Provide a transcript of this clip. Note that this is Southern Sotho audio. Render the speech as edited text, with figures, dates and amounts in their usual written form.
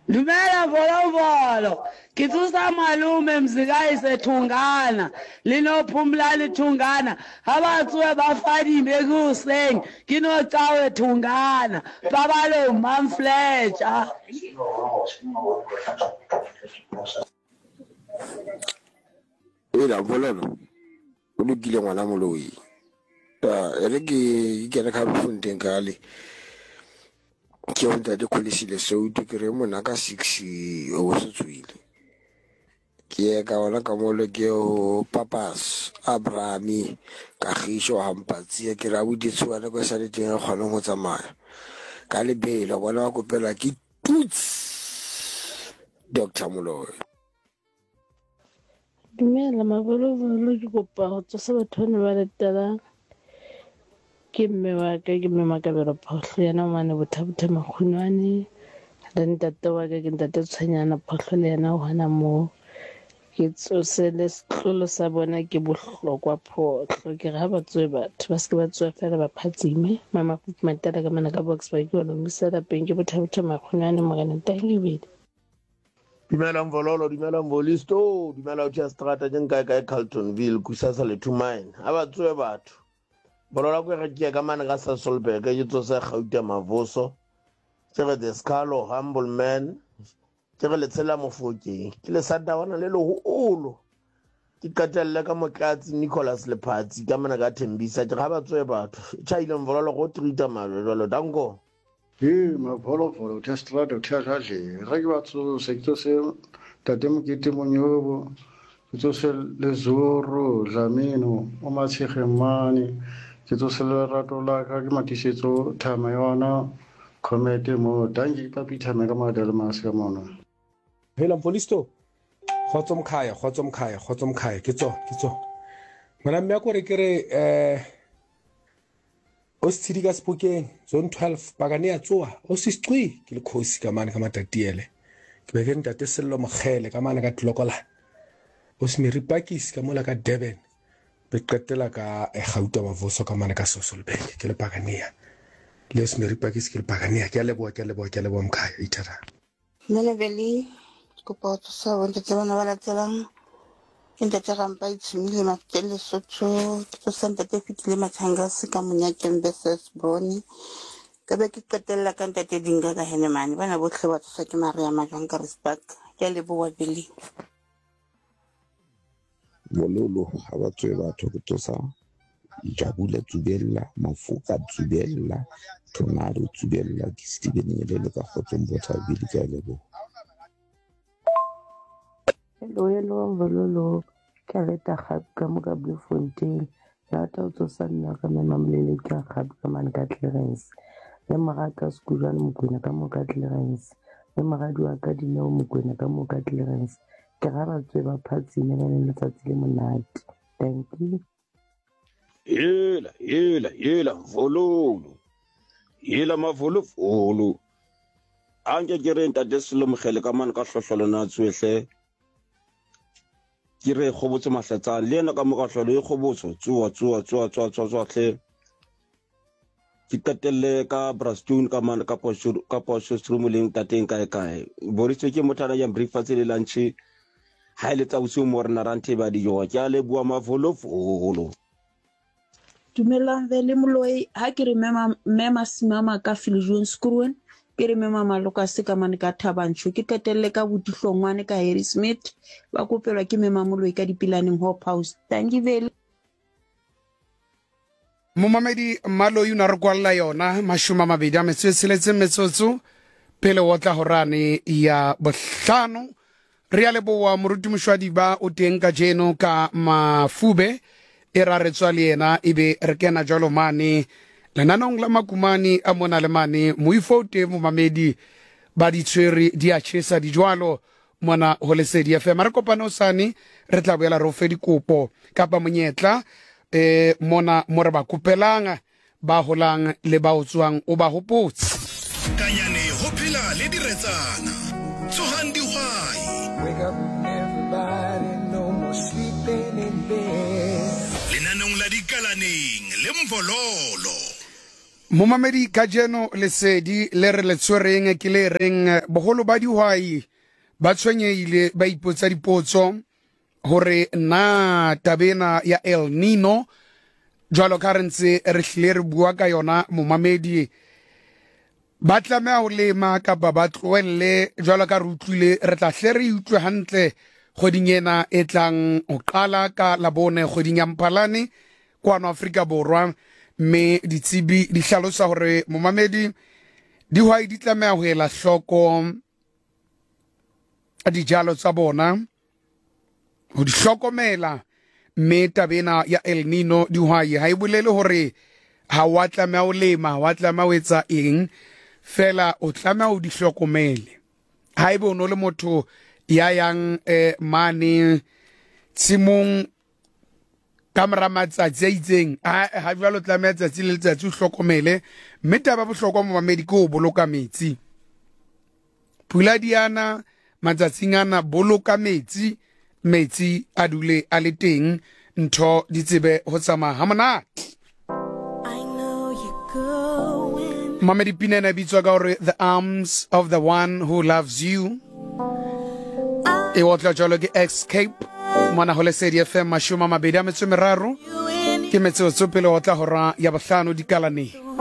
Dumela Volovolo, ke tsosa malome Mzikayise Thungana le no Phumlani Thungana ha ba tsohe ba fadime ke hoseng ke no Cawe Thungana pabalong Mamfletša. Ela Vololo, o lokile ngwana moloi. E re ke kene ka Bloemfontein kale. Ke yo ntate Kholisile Souto ke re mona ka 6 o se tswile. Ke ye ka ona ka mole ke ho Papas Abrahami Kagisho Hampatsia ke re abuti tshoana ko sa le teng re kgoneng ho tsamaya. Ka lebelo bona ba kopela ke tuts Dr. Moloi. Dumela mabolovolo ke kopa ho tsosa batho bana ba latelang. Ke mme wa ka ke mme Makabelo Phohlo yena o mane Bothabotha Makgunwane le ntate wa ka ke ntate Tshwenyana Phohlo le yena o hona moo. Ke tsose le setlolo sa bona ke bohlokwa Phohlo ke re ha ba tsohe batho ba se ke ba tsoha fela ba phatsime. Mama Matela ka mona ka Boksburg ke wa lomisa lapeng ke Bothabotha Makgunwane Morena Tangibedi. Dumela Mvololo, dumela Mvolisto, dumela o tšea strata ke nkae kae Carltonville, kusasa le two mine. A ba tsoe batho. Bolola ko re ke ka mane ka Sasolburg ke tsose Gauta Mavoso. Ke re the Scalo humble man. Ke re letshela mofokeng. Ke le sadawana le leholo. Ke qetelle ka motlatsi Nicholas Lephatsi ka mane ka Thembisa. Ke ga ba tsoe batho. Tjhaile Mvololo go treata majwe jwalo. Danko. Hee mavolovolo uthe strata uthe adladleni re ke ba tsose ke tsose tate mokete monyobo ke tsose lezoro dlamino o matshegeng mane ke tsose lerato la ka ke matisetso thama yona khomete mo danki ke papi thama ka madele mase ka mona. Hela Mfolisto, kgotso mkhaya, kgotso mkhaya, kgotso mkhaya, ke tso, ke tso. Ngwana mme a kore ke re eh O setshedi ka Sebokeng, Zone 12, pakane ya tsoa, o sesqwi ke le khosi ka mane ka Matatiele. Ke be ke re ntate Sello Mokgele ka mane ka Tlokola. O Smiri Pakis ka mola ka Durban. Be qetela ka eh, Gauta Mavoso ka mane ka Sosolbeke ke le Pakanea. Le Smiri Pakis ke le Pakanea. Ke a leboha, ke a leboha, ke a leboha mkhaya. Ithata. Dumela Veli, ke kopa ho tsosa bontate bana ba latelang. Ke ntate Rampa Itshimile Mafeteng Lesotho, ke tsosa ntate Fitile Mathangase ka Monyakeng versus Bone. Ka be ke qetella ka ntate Dinga ka Henemane. Bana bohle ba tsoswa ke Maria Majwang ka Rispark. Ke a leboha Veli. Bololo ha ba tswe batho ke tsosa Jabula Tsubella, Mafoka Tsubella, Tornado Tsubella, ke Steven Nyelele ka kgotsong Bothabile ke a leboha. Hello, hello, Bololo. Ke a leta gape ka mo ka Bloemfontein. Ke rata ho tsosa mme wa ka mme Mamolele ke a gape ka mane ka Clarence. Le mora ka Sekujwane Mokwena ka mo ka Clarence. Le moradi wa ka Dineo Mokwena ka mo ka Clarence. Ke ra ba tswe ba phatsime ba le letsatsi le monate. Thank you. Hela, hela, hela, mvololo. Hela mavolovolo. A nke ke re ntate Sello Mokgele ka mane ka hlohlolo na tsoehle. Ke re kgobotso mahlatsane le yena ka mo ka hlolo e kgobotso tsoa tsoa tsoa tsoa tsoa tsoa hle. Ke qetelle ka Brastone ka mane ka Potchefstroom ka Potchefstroom le ntateng kae kae. Boritso ke motho a jang breakfast le lunch. Ha ile tsa bosiu mo rena ra nthe ba dijo. Ke a leboha mavolovolo. Dumelang Vele Moloi, ha ke re mema mme Masimama ka Viljoen Skroen, ke re mema Malokase ka mane ka Thabantsho, ke qetelle ka Botihlongwane ka Harry Smith, ba kopelwa ke mema Moloi ka Dipilaneng Hope House. Dankie Vele. Momamedi Mmaloi o ne a re kwalela yona mashome a mabedi a metso e tsheletseng metsotso pele o tla horane ya bohlano. Re a leboa moruti Mošwadiba o teng ka jeno ka mafube e ra re tswa le yena ebe re kena jalo mane lenanong la makumane a mona le mane moifo o teng momamedi ba di tshwere di a tšhesa di jwalo mona ho Lesedi FM. Re kopane hosane, re tla boela re o fe dikopo kapa monyetla eh mona mo re ba kopelang ba holang le ba o tswang o ba hopotse. Kanyane ho phela le diretsana. Tsohang dihwai. Wake up everybody, no more sleeping in bed. Lenaneong la Dikalaneng le Mvololo. Momamedi kajeno lesedi le re le tshwereng ke le reng boholo ba dihwai ba tshwenyehile ba ipotsa dipotso hore na tabena ya El Nino jwalo ka re ntse re hlile re bua ka yona momamedi ba tlameha ho lema kapa ba tlohelle jwalo ka re utlwile re tla hle re utlwe hantle kgweding ena e tlang ho qala ka labone kgweding ya Mphalane kwano Afrika Borwa mme ditsebi di hlalosa hore momamedi dihwai di tlameha ho ela hloko dijalo tsa bona ho di hlokomela mme taba ena ya El Nino dihwai ha e bolele hore ha wa tlameha ho lema ha wa tlameha ho etsa eng fela o tlameha o di hlokomele haebe o no le motho ya yang eh, mane tshimong ka mora matsatsi a itseng ha jwalo tlameha tsatsi le letsatsi o hlokomele mme taba bohlokwa momamedi ke ho boloka metsi pula di ana matsatsing ana boloka metsi metsi a dule a le teng ntho di tsebe ho tsamaya ha monate Mamedi pina ena e bitswa ka gore The Arms of the One Who Loves You e otla jalo ke Escape mona go Lesedi FM 23 ke metsotso pele otla hora ya bohlano dikalaneng.